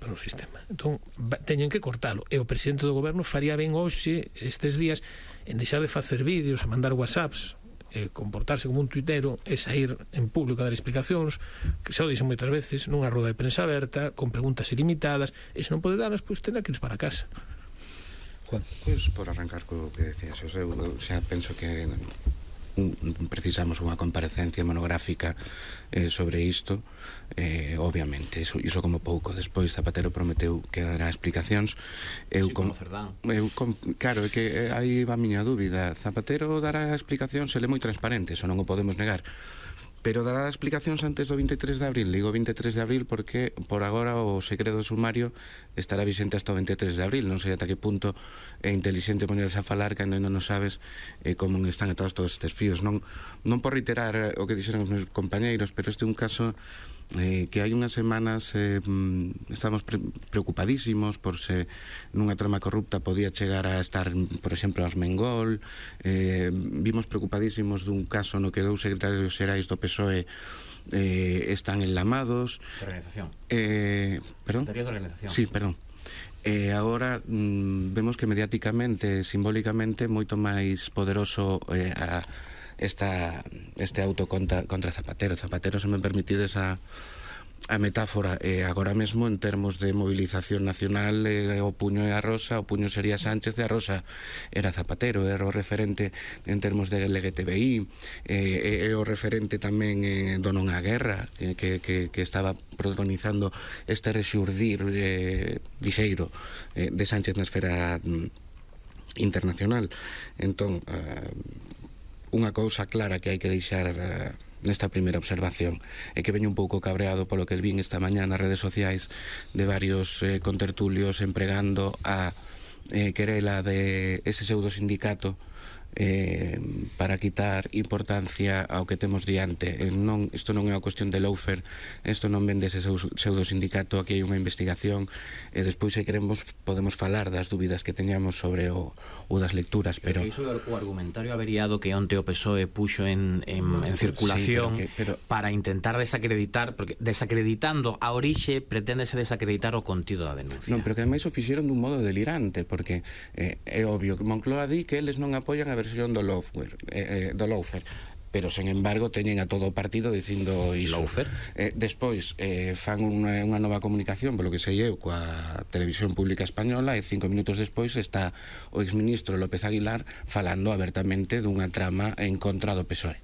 no sistema. Entón, teñen que cortalo. E o presidente do goberno faría ben hoxe, estes días, en deixar de facer vídeos, a mandar whatsapps, comportarse como un tuitero e sair en público a dar explicacións, que xa o dixen moitas veces, nunha roda de prensa aberta, con preguntas ilimitadas, e se non pode darlas, pois tendrá que ir para casa. Juan? Pois, por arrancar co que decías, eu xa penso que precisamos unha comparecencia monográfica sobre isto, obviamente, iso como pouco. Despois Zapatero prometeu que dará explicacións. Como Cerdán. Claro, é que aí va a miña dúbida. Zapatero dará explicacións, ele é moi transparente, eso non o podemos negar, pero dará explicacións antes do 23 de abril. Digo 23 de abril porque por agora o segredo sumario estará vixente hasta o 23 de abril. Non sei ata que punto é intelixente ponerse a falar cando non sabes como están atados todos estes fíos. Non por reiterar o que dixeron os meus compañeiros, pero este é un caso que hai unhas semanas estamos preocupadísimos por se nunha trama corrupta podía chegar a estar, por exemplo, Armengol. Vimos preocupadísimos dun caso no que 2 secretarios xerais do PSOE están enlamados. De organización. Perdón? Secretaría de organización. Sí, perdón. Agora vemos que mediáticamente, simbólicamente, moito máis poderoso este auto contra Zapatero. Zapatero, se me permitides a metáfora, agora mesmo en termos de movilización nacional, o puño é a Rosa, o puño sería Sánchez e a Rosa era Zapatero. Era o referente en termos de LGTBI, é o referente tamén do non á guerra, que estaba protagonizando este rexurdir lixeiro de Sánchez na esfera internacional. Entón, unha cousa clara que hai que deixar nesta primeira observación é que veño un pouco cabreado polo que vin esta mañá nas redes sociais de varios contertulios empregando a querela de ese pseudo sindicato para quitar importancia ao que temos diante. Isto non é unha cuestión de lawfare, isto non vende ese pseudo sindicato. Aquí hai unha investigación e despois, se queremos, podemos falar das dúbidas que teñamos sobre o das lecturas, pero iso é o argumentario averiado que onte o PSOE puxo en circulación, sí, pero para intentar desacreditar, porque desacreditando a orixe pretendese desacreditar o contido da denuncia. Non, pero que ademais o fixeron dun modo delirante, porque é obvio que Moncloa di que eles non apoian a versión do lawfare, pero, sen embargo, teñen a todo o partido dicindo iso. Despois fan unha nova comunicación, polo que sei eu, coa Televisión Pública Española, e 5 minutos despois está o exministro López Aguilar falando abertamente dunha trama en contra do PSOE.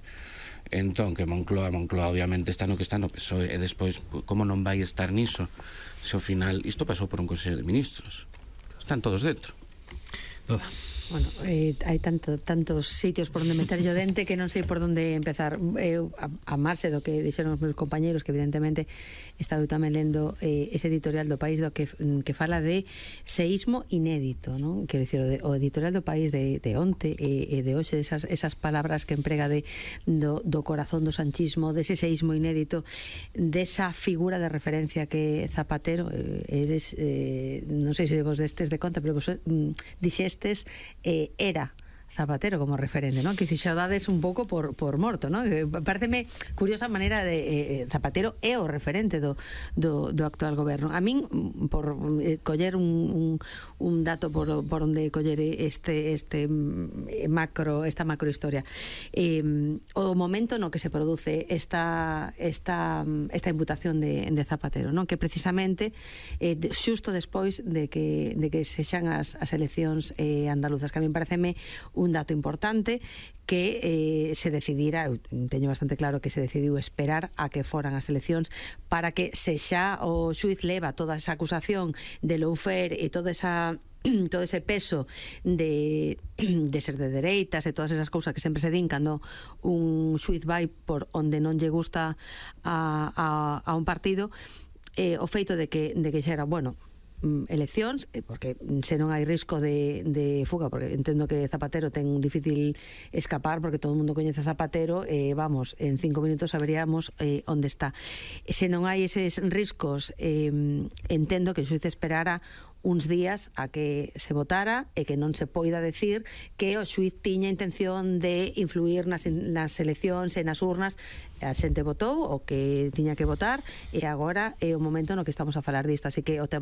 Entón, que Moncloa obviamente está no que está no PSOE, e despois, como non vai estar niso, se ao final isto pasou por un Consello de Ministros, están todos dentro. Toda. Bueno, hai tantos sitios por onde meter o dente que non sei por onde empezar. Eu, a marxe do que dixeron os meus compañeiros, que evidentemente estaba eu tamén lendo ese editorial do País do que fala de seísmo inédito, non? Quero dicir, o editorial do País de onte e de hoxe, esas palabras que emprega do corazón do sanchismo, dese seísmo inédito, desa figura de referencia que Zapatero, eres, non sei se vos destes de conta, pero vos dixestes era Zapatero como referente, non? Que se xa dades un pouco por morto, non? Pareceme curiosa maneira de Zapatero é o referente do actual goberno. A min, por coller un dato por onde coller esta macrohistoria, o momento no que se produce esta imputación de Zapatero, non? Que precisamente xusto despois de que sexan as eleccións andaluzas, que a min pareceme un dato importante, que se decidira, eu teño bastante claro que se decidiu esperar a que foran as eleccións para que se xa o xuiz leva toda esa acusación de lawfare e todo ese peso de ser de dereitas e todas esas cousas que sempre se din cando un xuiz vai por onde non lle gusta a un partido, o feito de que xa era, bueno, eleccións, porque se non hai risco de fuga, porque entendo que Zapatero ten difícil escapar, porque todo o mundo coñece Zapatero, vamos, en 5 minutos saberíamos onde está. Se non hai eses riscos, entendo que o xuiz esperara uns días a que se votara e que non se poida decir que o xuiz tiña intención de influir nas eleccións e nas urnas. A xente votou o que tiña que votar e agora é o momento no que estamos a falar disto, así que o tema